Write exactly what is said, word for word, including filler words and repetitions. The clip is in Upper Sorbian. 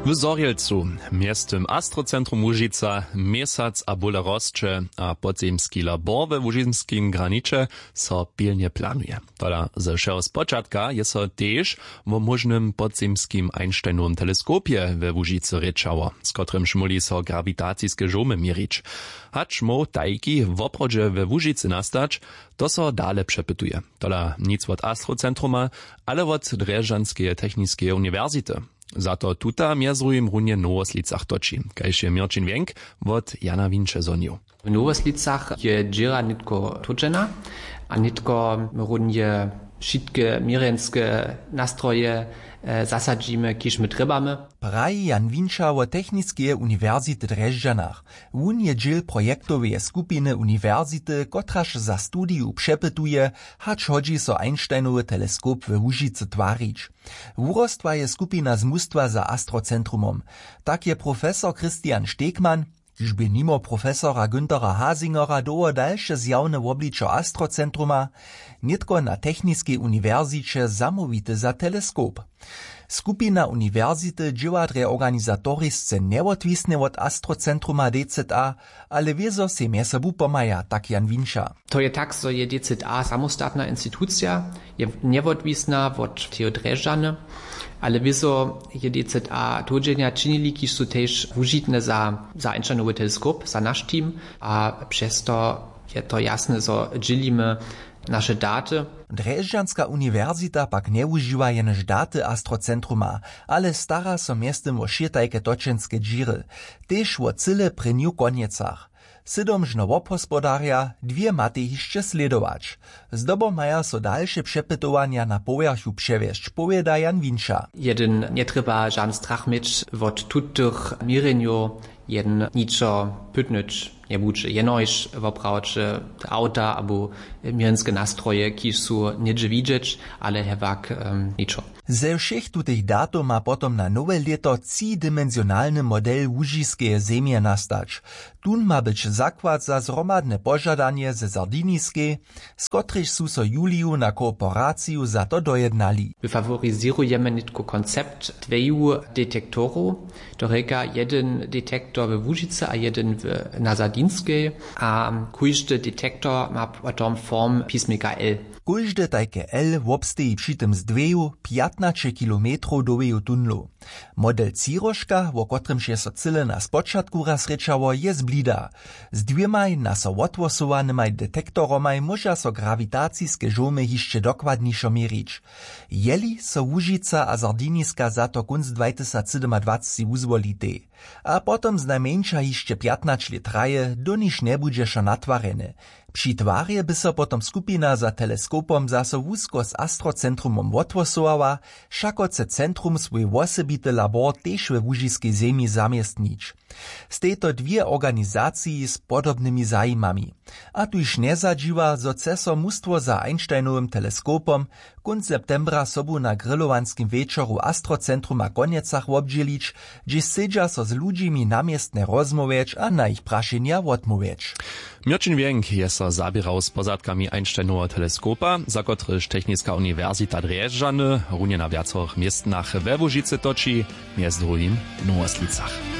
W Zhorjelcu, mjeztym Astrocentrum Łužica, měsac a bóle rosće a podzemski labor we łužiskim graniće so pilnje planuje. Tola ze wšeho spočatka je so tež wo móžnym podzemskim Einsteinowym teleskopje we Łužicy rěčało, z kotrymž móhli so grawitaciske žołmy měrić. Hač móhł tajki woprawdźe we Łužicy nastać, to so dale přepytuje. Tola nic wot Astrocentruma, ale wot Drježdźanskeje techniskeje uniwersity. Za to tuta mjez druhim runje w Nowoslicach toči, kaž je Měrćin Wjenk wot Jana Winče zhonił. W Nowoslicach je dźěra nětko tódźena a nětko runje wšitke měrjenske nastroje zasadźimy, kiž my trjebamy. Praji Jan Winča wo techniskeje uniwersity w Drježdźanach. Wón je dźěl projektoweje skupiny uniwersity, kotraž za studiju přepytuje, hač hodźi so Einsteinowy teleskop we Łužicy twarić. Wurostła je skupina z mustwa za Astrocentrumom. Tak je profesor Christian Stegmann, kiž bě nimo profesora Günthera Hasingera dołho dalše zjawne wobličo Astrocentruma, nětko na techniskej uniwersiće zamołwity za teleskop. Skupina uniwersity dźěła drje organizatorisce njewotwisnje wot Astrocentruma D Z A, ale wězo sej mjez sobu pomhaja, tak Jan Winča. To je tak, zo je D Z A samostatna institucija, je njewotwisna wot teho Drježdźany, ale wězo je D Z A tódźenja činili, kiž su tež wužitne za za Einsteinowy teleskop, za naš team, a přez to je to jasne, zo dźělimy naše daty. Drježdźanska uniwersita pak njewužiwa jenož daty Astrocentruma, ale stara so mjeztym wo wšě tajke točenske dźěry, tež wo cyle prěnju konjecach. Sydom žno wobhospodarja, dwě matej hišće slědować. Zdobom maja so dalše přepytowanja na powjerchu přewjesć, powěda Jan Winča. Jedyn njetrjeba žan strach měć wot tutych měrjenjow. Jedyn ničo pytnyć njebudźe, jenož woprawdźe awta abo měrjenske nastroje, kiž su něhdźe widźeć, ale hewak ničo. Ze wšěch tutych datow ma potom na nowe lěto třidimenzionalny model łužiskeje zemje nastać. Tón ma być zakład za zhromadne požadanje ze Sardiniskej, z kotrejž su so w juliju na kooperaciju za to dojednali. My faworizěrujemy nětko koncept dweju detektorow, to rěka jedyn detektor we Łužicy a jedyn w na Sardinskej, a kóždy detektor ma potom form pismika L. Kóžde tajke L wobsteji při tym z dweju pjatnaće kilometrow dołheju tunlow. Model Třiróžka, wo kotrymž je so cyle na spočatku raz rěčało, je z blida. Z dwěmaj na so wothłosowanymaj detektoromaj móža so grawitaciske žołmy hišće dokładnišo měrić. Jeli so Łužica a Sardiniska za to kónc dwajtysacsydomadwacci wuzwolitej, a potom znajmjeńša hišće pjatnaće lět traje, doniž njebudźe wšo natwarjene. Při twarje by so potom skupina za teleskopom zaso wusko z Astrocentrumom wothłosowała, wšako chce centrum swój wosebity labor tež we łužiskej zemi zamjestnić. Stejto dwě organizaciji z podobnymi zajimami. A tuž njezadźiwa, zo chce so mustwo za Einsteinowym teleskopom kónc septembra sobu na grillowanskim wječoru Astrocentruma w Konjecach wobdźělić, hdźež sedźa so z ludźimi na městnje rozmołwjeć a na jich prašenja wotmołwjeć. Měrćin Wjenk je so zaběrał z pozadkami Einsteinoweho teleskopa, za kotryž Techniska uniwersita Drježdźany runje na wjacorych městnach we Łužicy toči, mjez druhim w Nowoslicach.